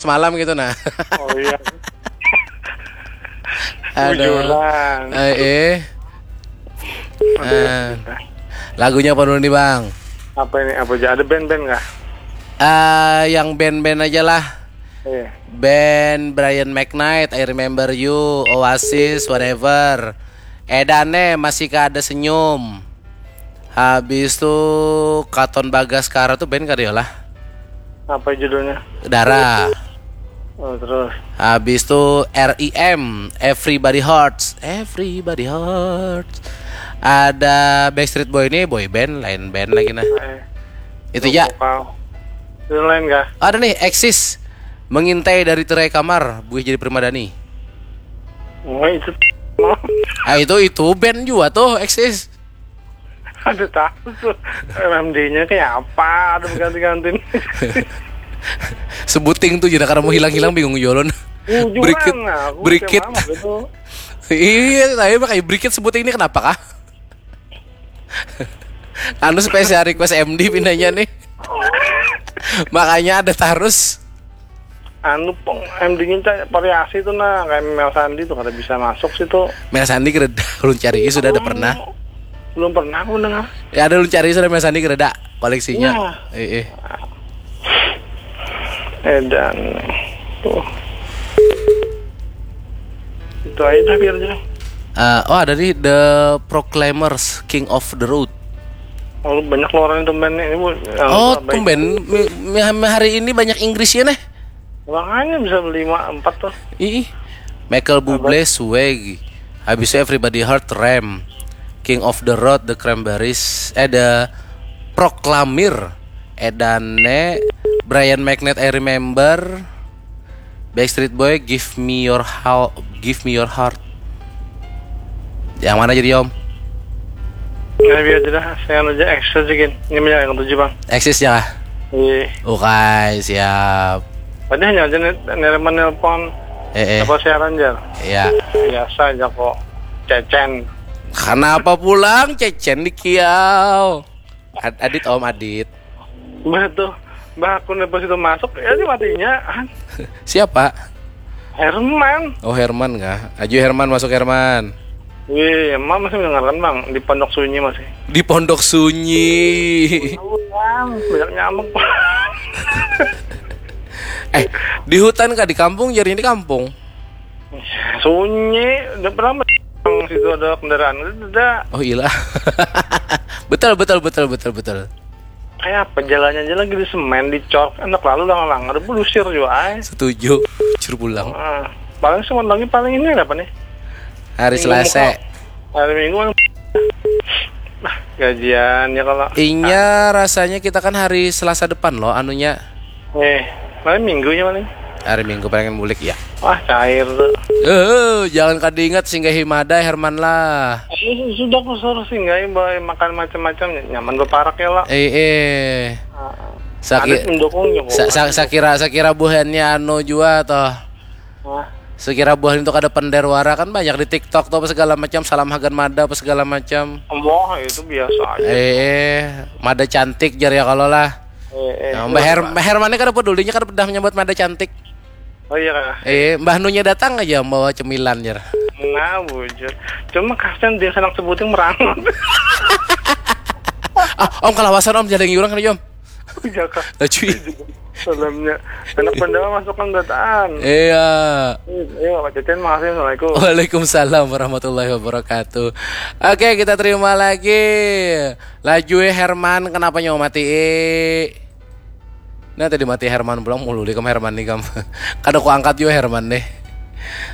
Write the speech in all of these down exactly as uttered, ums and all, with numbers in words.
malam gitu nah. Oh iya. Aduh. Eh, eh. Eh, lagunya apa dulu nih, Bang? Apa ini? Apa aja? Ada band-band nggak? Ah, yang band-band aja lah. Iya. Band Brian McKnight, I Remember You, Oasis, whatever. Edane masih kada senyum. Habis tuh Katon Bagaskara tuh band kada lah. Apa judulnya? Dara. Oh, terus. Habis tuh R E M, Everybody Hurts, Everybody Hurts. Ada Backstreet Boy ini boy band, lain band lagi nah. Eh, itu ya. Itu lain kah? Ada nih Exis, Mengintai dari Tirai Kamar, Buih Jadi Primadani. Oh, itu. Ah, itu itu band juga tuh Exis. Ada tahu tuh. M D-nya kayak apa? Ada berganti-ganti. Sebuting tuh jadi karena mau hilang-hilang bingung jolon. Berikit, berikit. Iya, tapi pakai berikit sebuting ini kenapa kah? Anu spesial request M D pindahnya nih. Makanya ada terus. Anu pong M D ini variasi tuh nah, kayak Mel Sandi tuh kada bisa masuk situ. Mel Sandi kada ulun cari sudah ada pernah. Belum pernah aku dengar. Ya ada ulun cari sudah Mel Sandi kada koleksinya. Iya. Eh, eh. Edan tuh. Itu aja dah biar aja. Uh, oh ada nih The Proclaimers, King of the Road. Oh, banyak keluaran tumben nih. Ini, oh, tumben. Hari ini banyak Inggris ya nih. Makanya bisa beli empat tuh. Ih, Michael Bublé, Swag. Habis itu Everybody Heart, Ram. King of the Road, The Cranberries. Eh, The Proclaimers. Edane, Brian McKnight, I Remember. Backstreet Boy, Give Me Your Heart, Give Me Your Heart. Yang mana jadi om? Ya biar aja dah, saya aja Exis aja gin. Ini banyak yang tujuh bang. Exis ya? Iya. Oke, siap. Tadi hanya aja nih, nerima nelpon. Eh, eh. Apa siaran aja? Iya. Biasa aja kok. Cecen. Kenapa pulang Cecen di kiau? Ad Adit om Adit. Bah tuh, bah aku pas itu masuk ya ini matinya. Siapa? Herman. Oh Herman kah? Aju Herman masuk Herman. Wih, emang masih mendengarkan bang di Pondok Sunyi masih. Di Pondok Sunyi. Banyak nyamuk. Eh, di hutan kah di kampung? Jari ini kampung. Sunyi, udah pernah situ ada kendaraan, udah. Oh iya. Betul betul betul betul betul. Kayak apa jalannya aja lagi di semen, dicor, enak lalu lang-lang, ada belusir juga ay. Setuju, cur pulang. Ah, paling semen lagi paling ini apa nih? Hari Selasa. Hari Minggu kan. Nah, gajian ya kalau. Inya rasanya kita kan hari Selasa depan loh, anunya. Eh, paling minggu ya paling. Hari Minggu pengen bulik ya. Wah cair tuh. Eh, jangan kada ingat singgahi mada Herman lah. Eh, sudah aku suruh singgahi bawa makan macam-macam nyaman berparak ya lah. Eh, eh. Sakit mendukung ya. Sa sa sakira sakira buhannya anu jua toh. Wah. Sekira buah itu kada pender wara kan banyak di TikTok tuh apa segala macam salam hagan mada apa segala macam. Wah itu biasa aja. Eh, eh mada cantik jar ya kalau lah. Eh, eh, nah, Mbah Her Mbah Herman ini kada pedulinya kada pedah menyambut mada cantik. Oh iya kak. Eh, Mbah Nunya datang aja membawa cemilan jar. Nah bujur. Cuma kasihan dia senang sebuting merangut. Ah, om kalawasan om jadi orang kena om. Iya kak. Laju. Salamnya. Anak pendawa masuk kan dataan. Iya. Iya, Pak Cecen, makasih. Assalamualaikum. Waalaikumsalam warahmatullahi wabarakatuh. Oke, kita terima lagi. Laju ya Herman, kenapa nyawa mati? Nah, tadi mati Herman pulang mulu di kam Herman nih kam. Kada ku angkat juga Herman deh.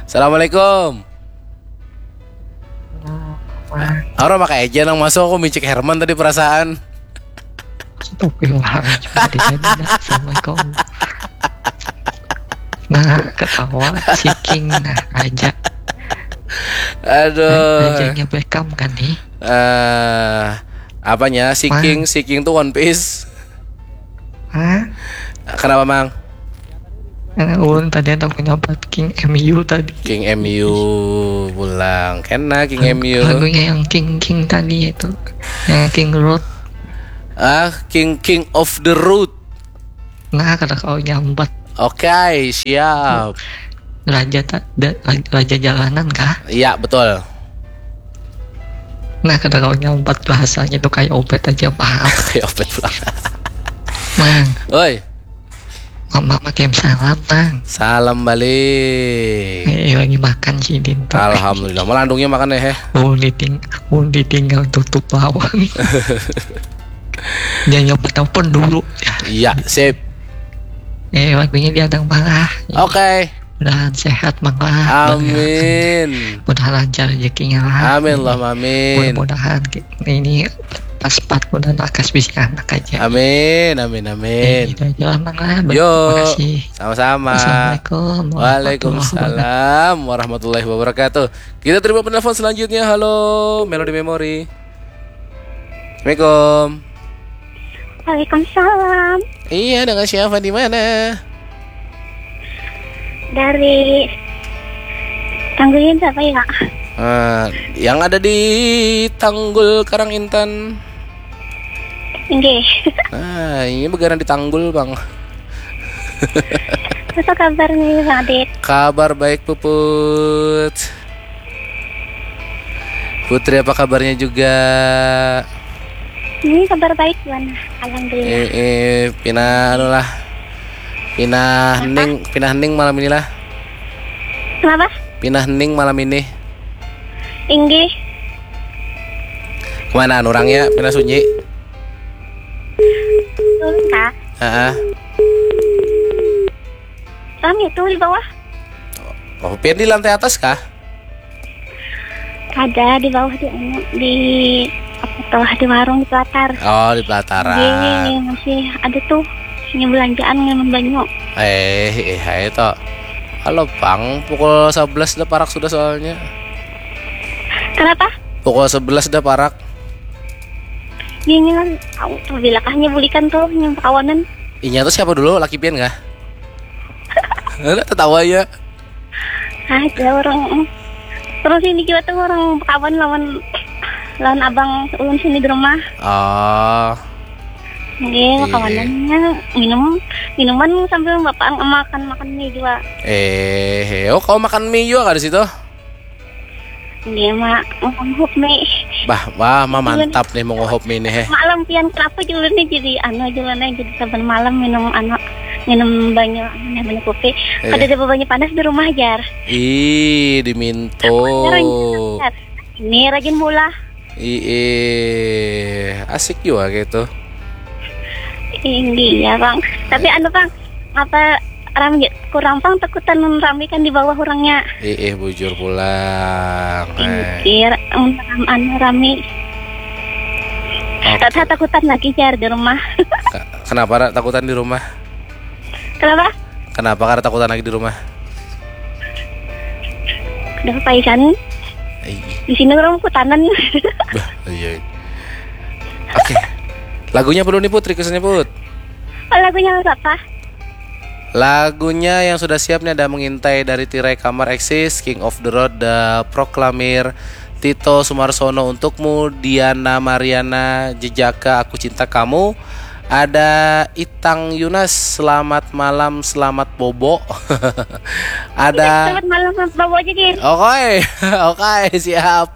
Assalamualaikum. Orang pakai aja nang masuk aku micik Herman tadi perasaan. Astagfirullahaladzim. Assalamualaikum. Nah, ketawa, seeking, nah, aja. Aduh. Ajanya Beckham kan nih? Eh, uh, apanya? Seeking, seeking tuh One Piece. Hah? Kenapa, Mang? Karena ulun tadi ada punya King M U tadi. King M U pulang. Kena King M U. Lagunya yang King King tadi itu. Yang King Road. Ah, King King of the Road. Nah, kada kau nyambat. Oke, siap. Raja tak da- raja jalanan kah? Iya, betul. Nah, kada kawa nyampat bahasanya tuh kayak Obet aja paham. Kayak Obet pulang. Mang, Oi, mama makin salam, Mang. Salam balik. Eh, lagi makan sih, Din. Alhamdulillah, malandungnya makan ya, heh. Mau diting, mau ditinggal tutup bawang. Jangan nyoba telepon dulu. Iya, sip. Eh, waktunya diadang parah. Oke. Mudahan sehat, Mang lah. Amin. Mudahan lancar rezekinya lah. Amin, Allahumma amin. Mudah-mudahan ki- ini pas pat mudahan lakas bisa anak aja. Amin, amin, Eh, amin. itu aja lah, Mang lah. Yo. Terima kasih. Sama-sama. Assalamualaikum warahmatullahi wabarakatuh. Waalaikumsalam warahmatullahi wabarakatuh. Kita terima penelpon selanjutnya. Halo, Melody Memory. Assalamualaikum. Waalaikumsalam. Iya, dengan siapa di mana? Dari Tanggulin siapa ya? Ah, yang ada di Tanggul Karang Intan. Inggih. Nah, ini begaran di Tanggul, Bang. Apa kabar nih, Bang Adit? Kabar baik, Puput. Putri, apa kabarnya juga? Ini kabar baik, Wan. Alhamdulillah. Eh, eh, pina anu lah. Pina hening, pina hening malam inilah. Kenapa? Pina hening malam ini. Inggih. Kemana orangnya? Pina sunyi. Turun kah? Heeh. Rame tuh di bawah. Oh, pian di lantai atas kah? Ada di bawah di anu, di apa tuh, di warung di Pelatar. Oh, di pelataran. Iya, masih ada tuh punya belanjaan nginum banyu. Eh, eh, hai to. Halo, Bang. Pukul sebelas dah parak sudah soalnya. Kenapa? Pukul sebelas dah parak. Iya, ini kan, tahu tuh, bilakahnya bulikan tuh yang kawanan. Inya tuh siapa dulu? Laki pian kah? Ada tertawa ya. Ada orang. Terus ini juga tuh orang kawan lawan lawan abang ulun sini di rumah. Oh, Nggih, Iya. Kawanannya minum minuman sambil bapak makan makan mie juga. Eh, oh, kau makan mie juga kah di situ? Nggih, mak, nguhup mie. Bah, wah, mah mantap nih menguhup mie nih, heh. Malam pian kenapa juga nih jadi anu juga nih, jadi saban malam minum anu, minum banyu, anu nih, banyu kopi. Iya. Kada ada banyu panas di rumah, jar. Ih, diminto. Ini rajin bola. Ih, asik juga gitu. Iya, Bang. Tapi anu, Bang, apa rame kurang, Bang, takutan rame kan di bawah orangnya. Ih, bujur pulang. Eh. Iya, anu rame. Oke. Rasa takutan lagi, jar, di rumah. Ka- Kenapa Ra, takutan di rumah? Kenapa? Kenapa Ra takutan lagi di rumah? Udah paisan. Ih, Di sini orang kutanan. Bah, iya. Oke. Lagunya apa dulu nih, Put? Requestannya, Put? Oh, lagunya apa? Lagunya yang sudah siap nih ada Mengintai dari Tirai Kamar Eksis, King of the Road, The Proclaimers, Tito Sumarsono, Untukmu, Diana Mariana, Jejaka, Aku Cinta Kamu. Ada Itang Yunas, Selamat Malam, Selamat Bobo. Ada Selamat malam, Bang Bobo aja, Din. Oke, oke, siap.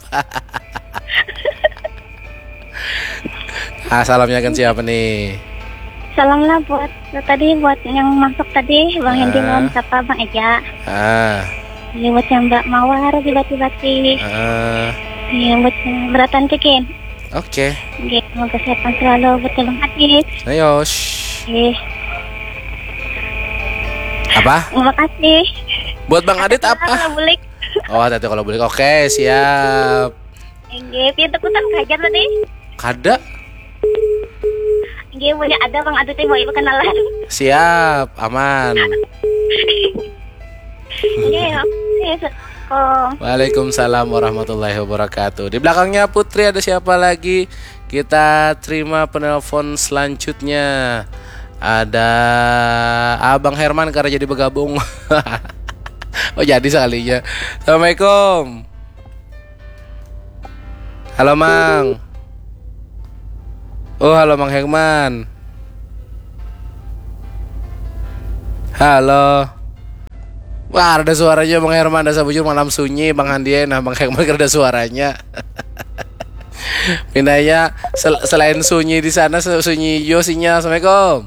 Ah, salamnya kan siapa nih? Salam lah buat tadi, buat yang masuk tadi, Bang Hendy Ah. lawan siapa, Bang Eja. Ah, Iya, buat yang Mbak Mawar di Bati-Bati. ah, Iya, buat yang beratan cekin. oke. Oke, semoga sehat selalu buat Bang Adit. Ayo. Shh. Oke, Apa? terima kasih. Buat Bang Adit apa? Kalau bulik. Oh, tadi kalau boleh. Oke, siap. Enggak, pintu kutan kajar tadi. Kada? Enggak, punya ada Bang Adit yang mau ibu kenalan. Siap, aman. Enggak, oke, Assalamualaikum. Waalaikumsalam warahmatullahi wabarakatuh. Di belakangnya Putri ada siapa lagi? Kita terima penelpon selanjutnya. Ada Abang Herman karena jadi bergabung. Oh, jadi sekalinya. Assalamualaikum. Halo, Mang. Oh, halo, Mang Herman. Halo. Wah, ada suaranya Bang Herman, dasar bujur malam sunyi, Bang Handi, nah, Bang Herman ada suaranya. Pinanya sel- selain sunyi di sana, se- sunyi jo sinyal. Assalamualaikum.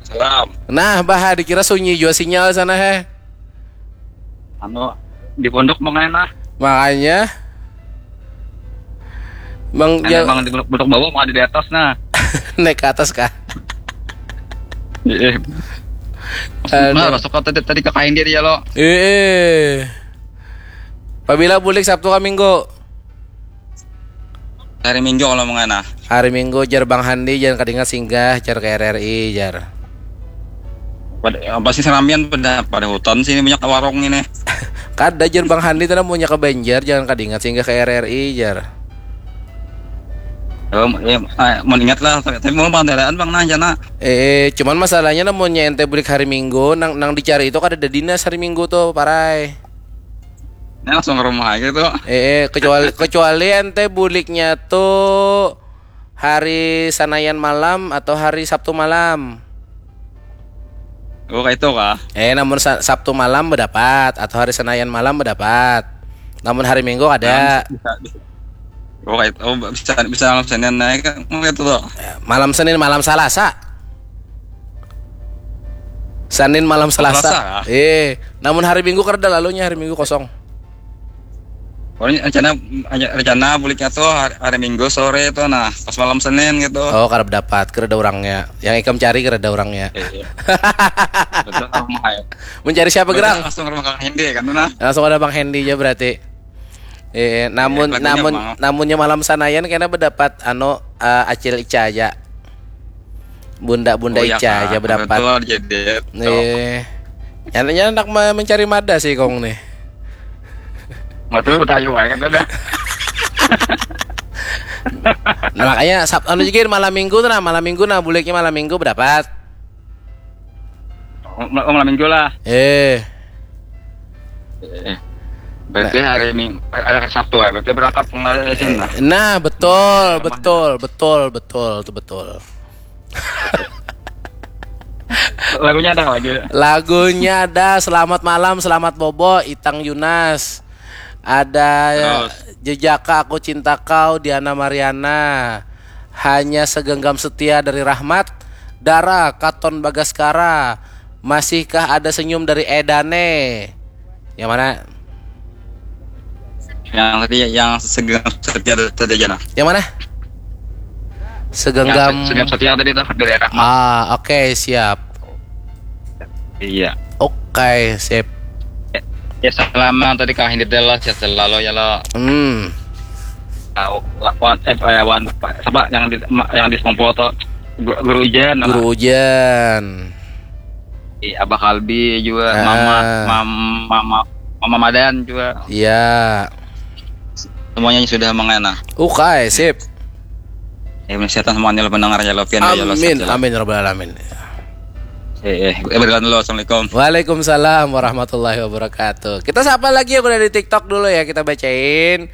Salam. Nah, bah, dikira sunyi jo sinyal sana, he. Anu, di pondok mau kena. Makanya Bang Ada ja- emang di pondok bawah mau ada di atas nah. Naik ke atas kah? Iya. Aduh. Nah, masuk ke tadi tadi ke kain dia lo. Eh. Pabila bulik Sabtu ka Minggu? Hari Minggu kalau mau kena. Hari Minggu, jar Bang Handi, jangan kadingat singgah, jar ke R R I, jar. Pada, pasti seramian pada pada hutan sini banyak warung ini. Kada, jar Bang Handi, tadi munnya ke Banjar, jangan kadingat singgah ke R R I, jar. Oh, ya, ah, mau ingat lah, tapi tapi mau pandaraan bang nah jana. Eh, cuman masalahnya namunnya ente bulik hari Minggu, nang nang dicari itu kada ada dinas hari Minggu tuh, parai. Ini langsung ke rumah aja tuh. Eh, kecuali kecuali ente buliknya tuh hari Sanayan malam atau hari Sabtu malam. Oh, kayak itu kah? Eh, namun Sa- Sabtu malam berdapat atau hari Senayan malam berdapat. Namun hari Minggu ada. Bisa, bisa. Oh, kayak itu. Oh, bisa bisa malam Senin naik kan mau itu tuh. Malam Senin, malam Salasa. Senin, malam Selasa. Selasa, ah. Eh, namun hari Minggu kada lalunya, hari Minggu kosong. Oh, ini rencana rencana buliknya tuh hari, hari Minggu sore tuh nah pas malam Senin gitu. Oh, kada dapat, kada ada orangnya. Yang ikam cari kada ada orangnya. Iya. Betul ke rumah ya. Mencari siapa, Gerang? Langsung ke rumah Kang Hendy kan nah. Langsung ada Bang Hendy aja berarti. Eh, namun Iya, lagunya namun Bang. Namunnya malam Sanayan kena berdapat anu eh, Acil Ica aja. Bunda-bunda Oh, iya, Ica Kak. aja berdapat. Betul jadi. Nih. Nyatanya anak me- mencari mada sih kong nih. Betul tahu aja kan dah. Nah, makanya Sab anu juga malam Minggu tuh nah, malam Minggu nah buliknya malam Minggu berdapat. Oh, mal- oh, malam Minggu lah. Eh, Eh, Berarti hari Minggu ada hari Sabtu ya. Berarti berangkat pengajian lah. nah betul, betul, betul, betul, itu betul. Lagunya ada lagi. Lagunya ada Selamat Malam, Selamat Bobo, Itang Yunas. Ada Terus? Jejaka Aku Cinta Kau, Diana Mariana. Hanya Segenggam Setia dari Rahmat, Dara, Katon Bagaskara. Masihkah Ada Senyum dari Edane? Yang mana? Yang tadi yang segenggam setia tadi aja nah. Yang mana? Segenggam. Yang segenggam setia tadi tuh dari Rahmat. Ah, oke, siap. Iya. Oke, sip. Ya selama tadi Kang Hendy lo sehat selalu ya lo. Hmm. Tahu lawan eh eh, wan apa yang di ma- yang di Songpo tuh Gu- Guru Ujan, Guru Ujan. Iya, Abah Kalbi juga, Ah. Mama, Mam- Mama, Mama Madan juga. Iya. Semuanya sudah mengena. Oke, sip. Ya, kesehatan semuanya lo pendengar ya lo pian ya lo Amin, sehat ya, lo. Amin ya rabbal alamin. Eh, eh, eh, berjalan dulu. Assalamualaikum. Waalaikumsalam warahmatullahi wabarakatuh. Kita sapa lagi yang udah di TikTok dulu ya, kita bacain.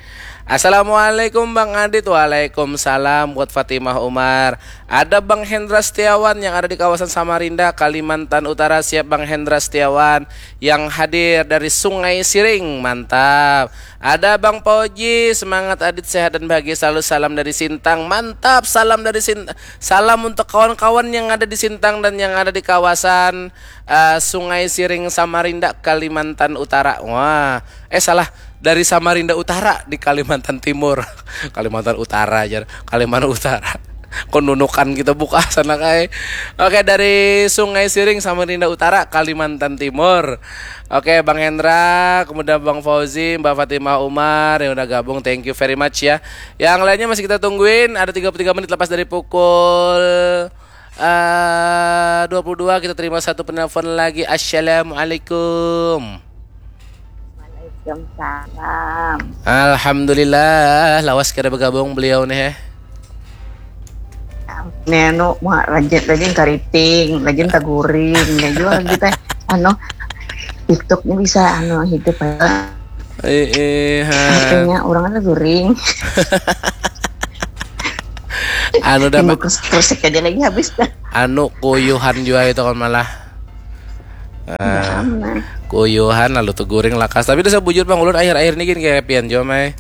Assalamualaikum Bang Adit. Waalaikumsalam buat Fatimah Umar. Ada Bang Hendra Setiawan yang ada di kawasan Samarinda, Kalimantan Utara. Siap Bang Hendra Setiawan yang hadir dari Sungai Siring. Mantap. Ada Bang Pauji, semangat Adit, sehat dan bahagia selalu. Salam dari Sintang. Mantap, salam dari Sin salam untuk kawan-kawan yang ada di Sintang dan yang ada di kawasan eh, Sungai Siring Samarinda, Kalimantan Utara. Wah, eh salah, dari Samarinda Utara di Kalimantan Timur. Kalimantan Utara aja, Kalimantan Utara. Kok nunukan kita buka sana kai. Oke, dari Sungai Siring Samarinda Utara, Kalimantan Timur. Oke, Bang Hendra, kemudian Bang Fauzi, Mbak Fatimah Umar yang udah gabung, thank you very much ya. Yang lainnya masih kita tungguin, ada tiga puluh tiga menit lepas dari pukul eh dua puluh dua. Kita terima satu penelpon lagi. Assalamualaikum. Waalaikumsalam. Alhamdulillah, lawas kada bergabung beliau nih eh. Nenu mau rajin rajin kariting, rajin taguring, ya juga kita anu TikToknya bisa anu hidup ya. Eh, eh, ha. Artinya orang ada guring. Anu dah, Nunggu Pak. Kres- kresek aja lagi habis dah. Anu kuyuhan jua itu kan malah. Ah, Nah, kuyuhan lalu teguring lakas. Tapi dasar bujur, Bang, ulun akhir-akhir ni gin kayak pian jua, Mai.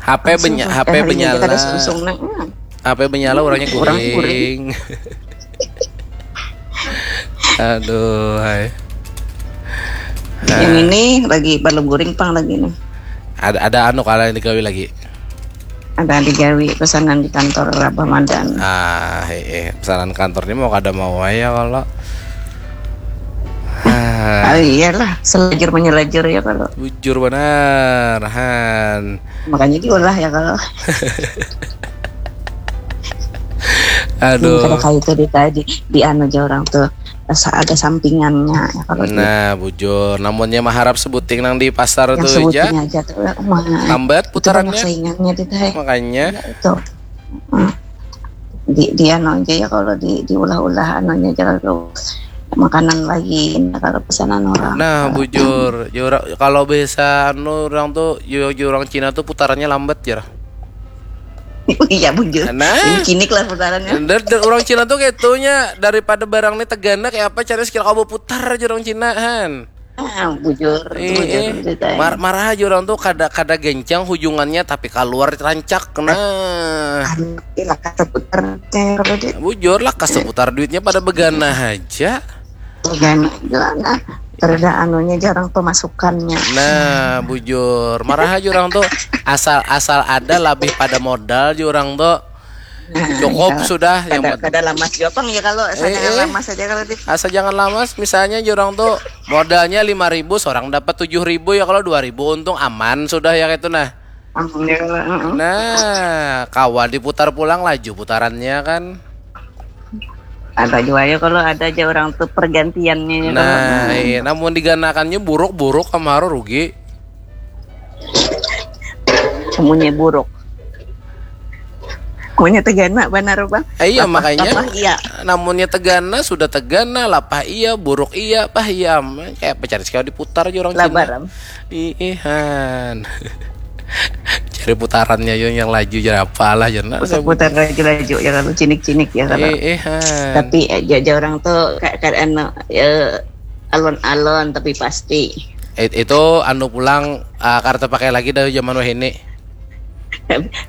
H P benya, Sumpah, H P hari ini benyala. Kada sungsung nah. Hmm. H P benyala, orangnya Orang guring. Aduh, hai. Yang ini lagi balum guring pang lagi nih. Ada ada anu kala yang digawi lagi. Ada digawi pesanan di kantor Rabah Madan. Ah, eh, pesanan kantor ni mau kada mau aja kalau. Ah, Ah, iyalah, selajur menyelajur ya kalau. Bujur banar, Han. Makanya diolah ya kalau. Aduh. Kada kayak itu di tadi di anu aja orang tuh rasa ada sampingannya ya kalau di- Nah, bujur. Namunnya maharap sebuting nang di pasar yang tuh aja. Sebuting aja tuh ya, wah, Lambat itu banyak putarannya. Saingannya di teh. Makanya. Ya, itu. Hmm. Di di anu aja ya kalau di diulah-ulah anunya aja kalau makanan lagi nah, kalau pesanan orang. Nah, bujur. Ya, ora- kalau biasa anu orang tuh, yo, yo orang Cina tuh putarannya lambat ya. Iya bujur. Nah. Ini cinik lah putarannya. Dan, dan orang Cina tuh kayak itunya, daripada barang ini tegana kayak apa, cara sekira kau putar aja orang Cina, Han. Ah, bujur, Eh, bujur eh. ceritanya. Mar- marah aja orang tuh kada kada gencang hujungannya tapi keluar rancak. Nah, Anu, iya lah kata putar teh kalau di bujur lah, kas seputar duitnya pada begana aja. dan nah, terada anunya jarang pemasukannya. Nah, bujur. Marah aja orang tuh, asal asal ada lebih pada modal aja orang tuh. Nah, Cukup iya. Sudah yang Kada, penting. Kada lamas juga pang ya kalau Eh, asal jangan eh. Lamas aja kalau di Asal jangan lamas, misalnya aja orang tuh modalnya lima ribu, seorang dapat tujuh ribu ya, kalau dua ribu untung aman sudah ya kayak itu nah. Ampun ya kalau heeh. Nah, kawa diputar pulang laju putarannya kan. Ada juga ya kalau ada aja orang tuh pergantiannya ya kalau Nah, heeh. Iya, namun diganakannya buruk-buruk, kamaru rugi. Semuanya buruk. Semuanya tegana benar bang. Eh, iya, Lapah- makanya. Lapah iya. Namunnya tegana, sudah tegana, lapah iya, buruk iya, pah iya. Kayak apa cari sekali diputar aja orang Cina. Labaran. Iihan. Cari putarannya yo yang laju, jadi apalah, jadi nah, Putar-putar laju-laju ya kalau cinik-cinik ya kalau. Iihan. Tapi aja aja orang tuh kayak kayak anu ya, alon-alon tapi pasti. It- itu anu pulang, ah, kada terpakai lagi dari zaman wahini.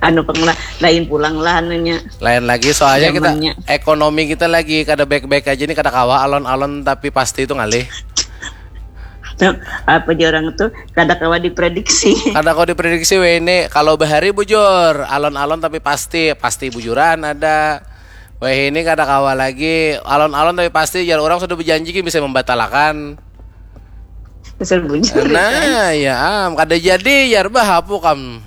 Anu pang lah, lain pulang lah anunya. Lain lagi soalnya kita Zamannya. Ekonomi kita lagi kada baik-baik aja nih, kada kawa alon-alon tapi pasti itu ngalih. Nah, apa aja orang tuh kada kawa diprediksi. Kada kau diprediksi weh ini. Kalau bahari bujur, alon-alon tapi pasti, pasti bujuran ada. Weh ini kada kawa lagi, alon-alon tapi pasti, jar orang sudah berjanji ki bisa membatalkan. Betul bujur. Nah, ya am, kada jadi, jar bahapu kam.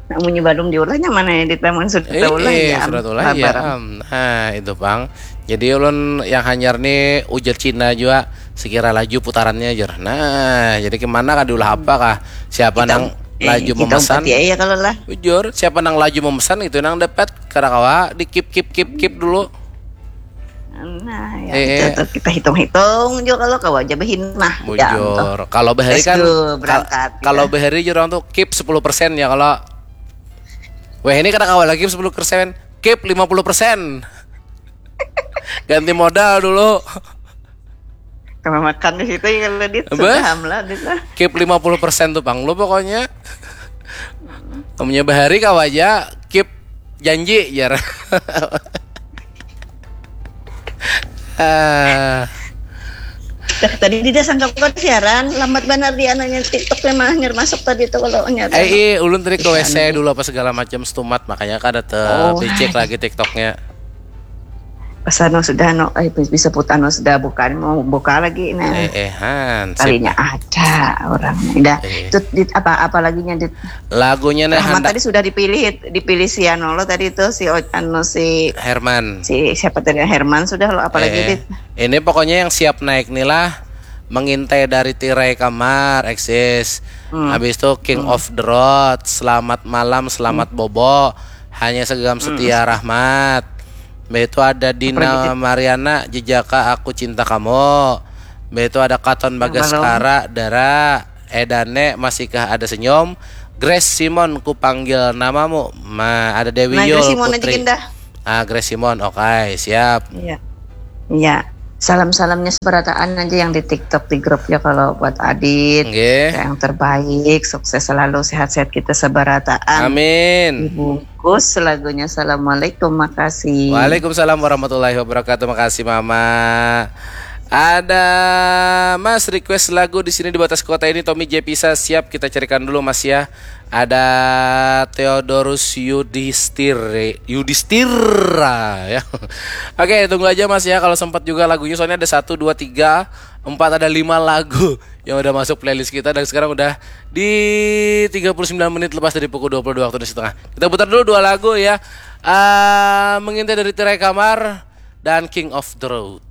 Namunnya balum diulahnya mana yang di taman sudah Eh, ulah eh, ya. Am. Sudah ulah ya Sabar. Am. Nah, itu pang. Jadi ulun yang hanyar nih ujar Cina juga, sekira laju putarannya, jar. Nah, jadi kemana kah, diulah apa kah? Siapa Kita- nang eh, laju kita memesan? Umpati aja kalau lah. Bujur, siapa nang laju memesan itu nang dapat. Kada kawa di keep keep keep keep dulu. Nah, ya, Eh, itu eh. Tuh kita hitung-hitung juga kalau kawa aja behin nah. Ya, Bujur. Kalau bahari kan Let's go, kal- berangkat, kalau gitu. Bahari jurang tuh keep sepuluh persen ya kalau. Weh, ini kada kawa lagi sepuluh persen. Keep lima puluh persen. Ganti modal dulu. Kalau makan di situ ya kalau dit Apa? Sudah hamlah dit lah. Keep lima puluh persen tuh pang lu pokoknya. Kamunya Bahari kawa aja keep janji, jar. Ah, Dah, tadi tidak sangka bukan siaran, lambat benar di anunya TikTok memang hanyar masuk tadi tuh kalau hanyar. eh, ih, ulun tadi ke Iya, W C dulu apa segala macam setumat, makanya kada te Oh. becek lagi TikToknya. Pas anu sudah anu, eh, bisa put anu sudah buka mau buka lagi nah. Eh, eh, han, sip. Kalinya ada orang. Dah, Eh. itu dit, apa apa laginya dit. Lagunya nih Rahmat handak tadi sudah dipilih dipilih si anu lo tadi itu si O- anu si Herman. Si siapa tadi Herman sudah lo apalagi Eh, dit. Ini pokoknya yang siap naik nih lah. Mengintai dari tirai kamar, eksis. Hmm. Habis itu King of the Road, selamat malam, selamat bobo. Hanya segam setia Rahmat. Habis itu ada Dina Apalagi, Dit? Mariana, jejaka aku cinta kamu. Habis itu ada Katon Bagaskara, Dara, Edane, masihkah ada senyum? Grace Simon, ku panggil namamu. Ma, ada Dewi Nah, Yul Grace Simon aja Putri. Gindah. Ah, Grace Simon, oke, siap. Iya. Iya. Salam-salamnya seberataan aja yang di TikTok, di grup ya, kalau buat Adit. Nggih. Yang terbaik, sukses selalu, sehat-sehat kita seberataan. Amin. Dibungkus lagunya Assalamualaikum, makasih. Waalaikumsalam warahmatullahi wabarakatuh. Makasih Mama. Ada Mas request lagu di sini di batas kota ini, Tommy J Pisa. Siap, kita carikan dulu Mas ya. Ada Theodorus Yudhistiri, Yudhistira ya. Oke, tunggu aja Mas ya kalau sempat juga lagunya, soalnya ada satu, dua, tiga, empat, ada lima lagu yang udah masuk playlist kita dan sekarang udah di tiga puluh sembilan menit lepas dari pukul dua puluh dua waktu Indonesia Tengah. Kita putar dulu dua lagu ya. Ah, Mengintai dari Tirai Kamar dan King of the Road.